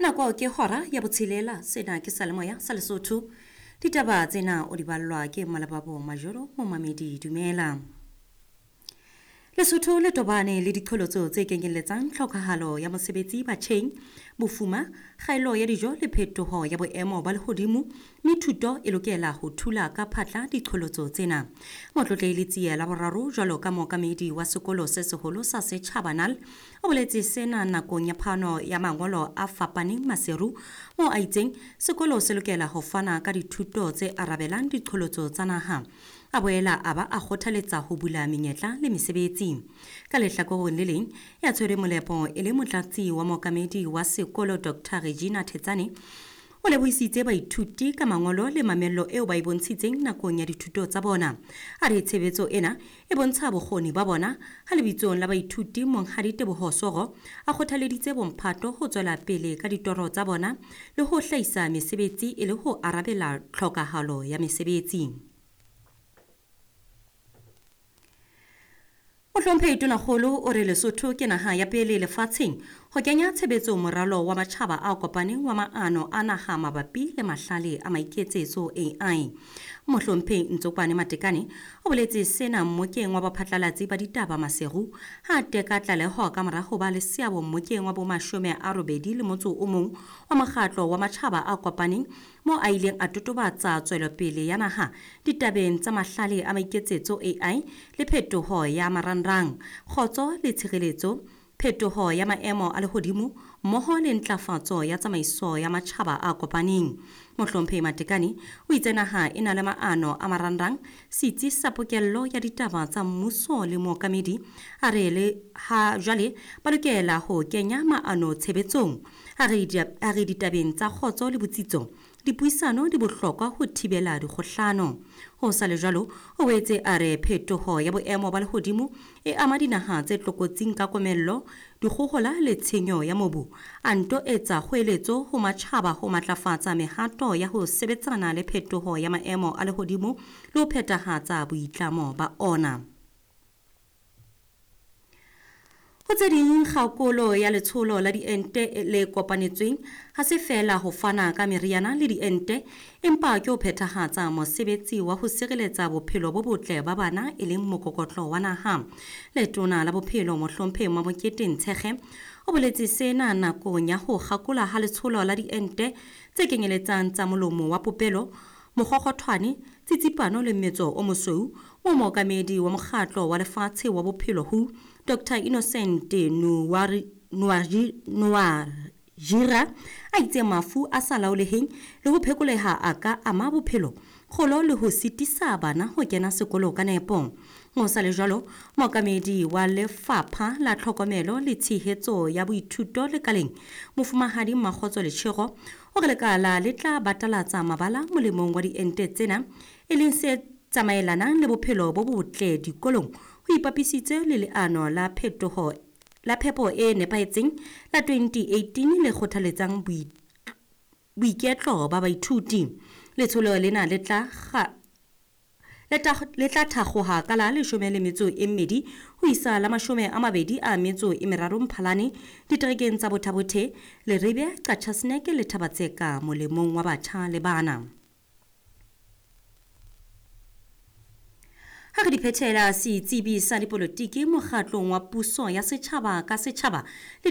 Nako ke hora ya botshelela, sena ke Salemoya sa Lesotho. Ditaba tsena o di ballwa ke Malebabo Majoro, momamedi dumela. Lesotho le tobane le diqholotso tse kenyelletsang tlhokahalo ya mosebetsi batjheng, bofuma, kgaello ya dijo le phetoho ya boemo ba lehodimo, mme thuto e lokela ho thula ka phatla diqholotso tsena. Motlotlehi Letsie la boraro jwalo ka mookamedi wa sekolo se seholo sa setjhaba NAL o boletse sena nakong ya phano ya mangolo a fapaneng Maseru, moo a itseng sekolo se lokela ho fana ka dithuto tse arabelang diqholotso tsa naha. A boela a ba a kgothaletsa ho bula menyetla le mesebetsi. Ka lehlakoreng le leng, ya tshwere molepo e le motlatsi wa mookamedi wa sekolo Dr. Regina Thetsane o lebohisitse baithuti ka mangolo le mamello eo ba e bontshitseng nakong ya dithuto tsa bona. A re tshebetso ena e bontsha bokgoni ba bona ha lebitsong la baithuti Monghadi Teboho Soro a kgothaleditse bomphato ho tswela pele ka ditoro tsa bona le ho hlahisa mesebetsi e le ho arabela tlhokahalo ya mesebetsi. Mohlomphehi Tonakgolo o re Lesotho ke naha ya pele lefatsheng ho kenya tshebetso moralo wa matjhaba a kopaneng wa maano a naha mabapi le mahlale a maiketsetso AI. Mohlomphehi Ntsokwane Matekane o boletse sena mmokeng wa baphatlalatsi ba ditaba Maseru ha a teka tlaleho ka mora ho ba le seabo mmokeng wa bo 81 wa mokgatlo wa matjhaba a kopaneng mo a ileng a totobatsa tswelopele ya naha ditabeng tsa mahlale a maiketsetso AI le phetoho ya marangrang, kgotso le tshireletso, phetoho ya maemo a lehodimo mmoho le ntlafatso ya tsamaiso ya matjhaba a kopaneng. Mohlomphehi Matekane o itse naha e na le maano a marangrang, setsi sa pokello ya ditaba tsa mmuso le mookamedi a re le ha jwale ba lokela ho kenya maano tshebetsong. A re ditabeng tsa kgotso le botsitso, dipuisano di bohlokwa ho thibela dikgohlano. Ho sa le jwalo, o boetse a re phetoho ya boemo ba lehodimo e ama dinaha tse tlokotsing ka komello, dikgohola le tshenyo ya mobu. A nto etsa kgoeletso ho matjhaba ho matlafatsa mehato ya ho sebetsana le phetoho ya maemo a lehodimo le ho phethahatsa boitlamo ba ona. Ho tse ding, kgakolo ya letsholo la diente le kopanetsweng ha se feela ho fana ka meriana le diente, empa ke ho phethahatsa mosebetsi wa ho sireletsa bophelo bo botle ba bana e leng mokokotlo wa naha. Letona la bophelo Mohlomphehi Mamokete Ntshekge o boletse sena nakong ya ho kgakola ha letsholo la diente tse kenyeletsang tsa molomo wa popelo, mokgokgothwane, tsitsipano le mmetso o mosweu, mo mookamedi wa mokgatlo wa lefatshe wa bophelo WHO Dr. Innocent Nuwajira a itse mafu a sa laoleheng le ho phekoleha a ka ama bophelo, kgolo le ho sitisa bana ho kena sekolo ka nepo. Ho sa le jwalo, mookamedi wa lefapha la tlhokomelo le tshehetso ya boithuto lekaleng, Mofumahadi Makgotso Letshego, o re lekala le tla batalatsa mabala molemong wa diente tsena, e leng se tsamaelanang le bophelo bo botle dikolong, ho ipapisitse le leano la phetoho la phepo e nepahetseng la 2018 le kgothaletsang boiketlo ba baithuti. Letsholo lena le tla thakgoha ka la 12 ho isa la 23 Mphalane diterekeng tsa Botha-Bothe, Leribe, Qachaseneke le Thabatseka molemong wa batjha le bana. Ha re di phethela, setsebi sa dipolotiki mokgatlong wa puso ya setjhaba ka setjhaba le